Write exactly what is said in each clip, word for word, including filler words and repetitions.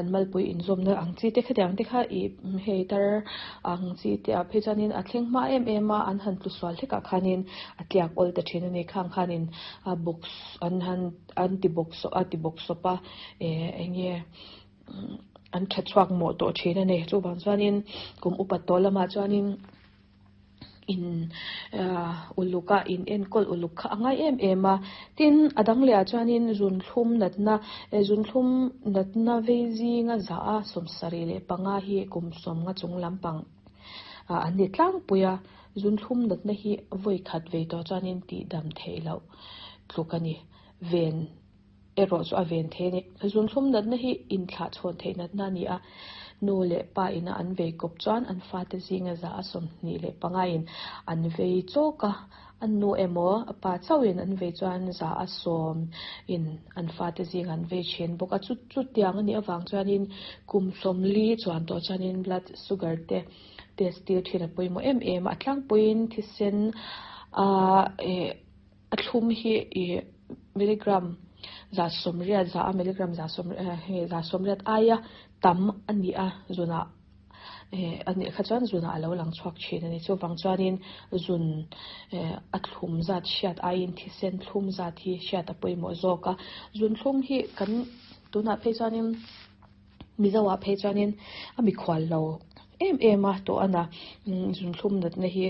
an malpui inzawmna ang chi te khatiang te kha ih hei tar ang chi te ah phei chuanin a thleng hma em em a an han tlu sual hlek ah khanin a tliak awl ta thin ani khang khanin a box an han an ti bawk saw a ti bawk sawp a eh eng nge an tha chhuak mawh tawh thin ani chuvang chuanin kum upat tawh lamah chuanin in ahh uluk a in enkawl uluk kha a ngai em em a tin a dang leh ah chuanin zunthlum natna zunthlum natna vei zinga za a sawmsarih leh panga hi kum sawmnga chung lampang ah an ni tlangpui a zunthlum natna hi vawi khat vei tawh chuanin tih dam theih loh tluk ani ven erawh chu a ven thei ani zunthlum natna hi inthlah chhawn theih natna ani a nu leh pa ina an vei kawp chuan an fate zinga za a sawmhnih leh panga in an vei chawk a an nu emaw a pa chauhin an vei chuan za a sawm in an fate zinga an vei thin bawk a chu chu tiang anih avang chuanin kum sawmli chuan tawh chuanin blood sugar te test tir thin a pawimawh em em a a tlangpuiin thisen ahh eh a thlum hi ih milligram za sawmriat za a milligram za sawm hei za sawmriat aia tam ani a zunah eh anih kha chuan zunah alo lang chhuak thin ani chuvang chuanin zun eh a thlum zat hriat aiin thisen thlum zat hi hriat a pawimawh zawk a zun thlum hi kan tunah phei chuanin mizo ah phei chuanin a mikhual lo em em a tawh ana zun thlum natna hi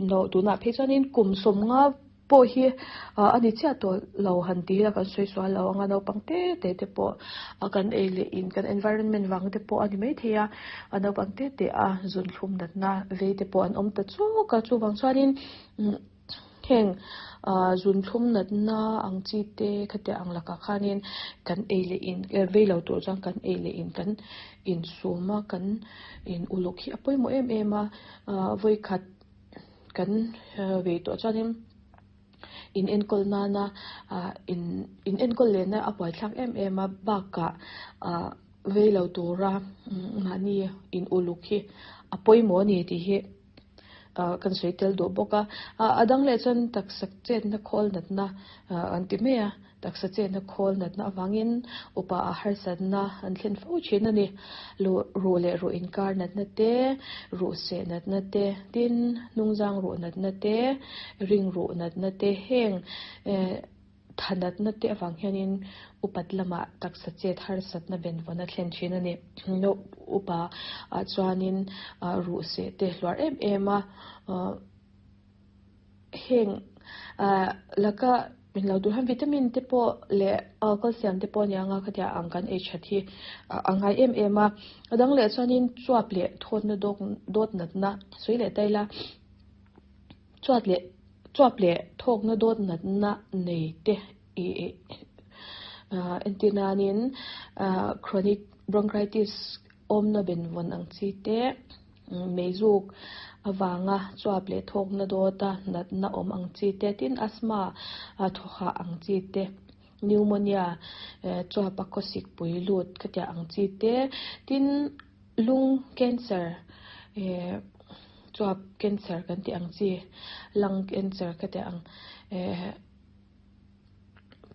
no tunah phei chuanin kum sawmnga pawh hi ah ani chiah tawh lo han ti ila kan sawi sual lo anga naupang te te te pawh a kan ei leh in kan environment vang te pawh ani maithei a a naupang te te a zun thlum natna vei te pawh an awm ta chawk a chuvang chuanin umm heng ah zun thlum natna ang chi te khatiang ang lakah khanin kan ei leh in vei lo tur chuan kan ei leh in kan insum a kan in uluk hi a pawimawh em em a ah vawi khat kan vei tawh chuanin in enkawl nana ah in in enkawl leh na a buaithlak em em a bakah ah vei lo tura mahni in uluk hi a pawimawh ani tih hi ah kan sawi tel duh bawk a ah a dang leh chuan taksa chetna khawl natna ah an ti mai a taksa chetna khawl natna avangin upa a harsatna an thlen fo thin ani lu ruh leh ruh inkar natna te ruh seh natna te tin hnungzang ruh natna te ring ruh natna te heng eh tha natna te avang hianin upat lamah taksa chet harsatna benvawn a thlen thin ani no upa ah chuanin ah ruh seh te hluar em em a ah heng ah laka min lo duh hian vitamin te pawh leh calcium te pawh aniang a khatiang ang kan ei that hi a ngai em em a a dang leh chuanin chuap leh thawtna dawk dawt natna sawi leh ta ila chuat leh chuap leh thawkna dawt natna nei te ih ah entir nanin ah chronic bronchitis awmna benvawn ang chi te meizuk awanga chuap leh thawkna dawta natna awm ang chi te tin asthma a thawhah ang chi te pneumonia eh chuap a khawsik pui lut khatiang ang chi te tin lung cancer eh chuap cancer kan tih ang chi lung cancer khatiang ang eh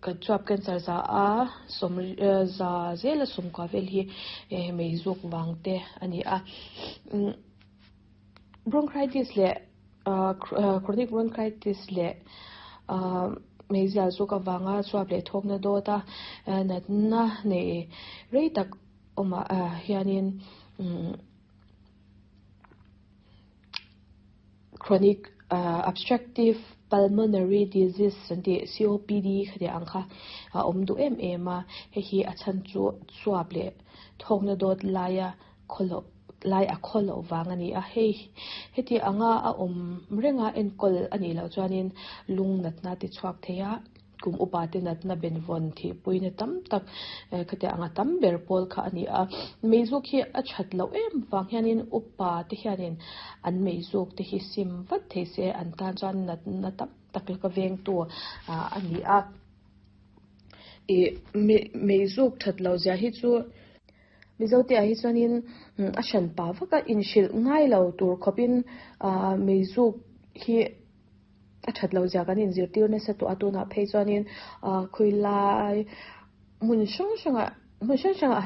kan chuap cancer za a sawm za zela sawmkua vel hi eh meizuk vang te ani a umm bronchitis leh ah chronic bronchitis leh ah meizial zuk awanga chuap leh thawkna dawta natna nei rei tak awmah ah hianin umm chronic ah obstructive pulmonary disease an tih C O P D khatiang ang kha a awm duh em em a hei hi a chhan chu chuap leh thawkna dawt laia khawloh lai a khawloh vang ani a hei heti anga a awm renga enkawl anih loh chuanin lung natna ti chhuak thei a kum upa te natna benvawn thihpuina tam tak khatiang anga tam ber pawl kha ani a meizuk hi a that loh em vang hianin upa te hianin an meizuk te hi sim vat thei se an tan chuan natna tam tak laka veng tu ah ani a ih meizuk that loh zia hi chu mizo te ah hi chuanin a hran pa vaka inhrilh ngai lo tur khawpin ah meizuk hi a that loh zia kan inzirtir nasa tawh a tunah phei chuanin ah khawilai hmun hrang hrangah hmun hrang hrangah han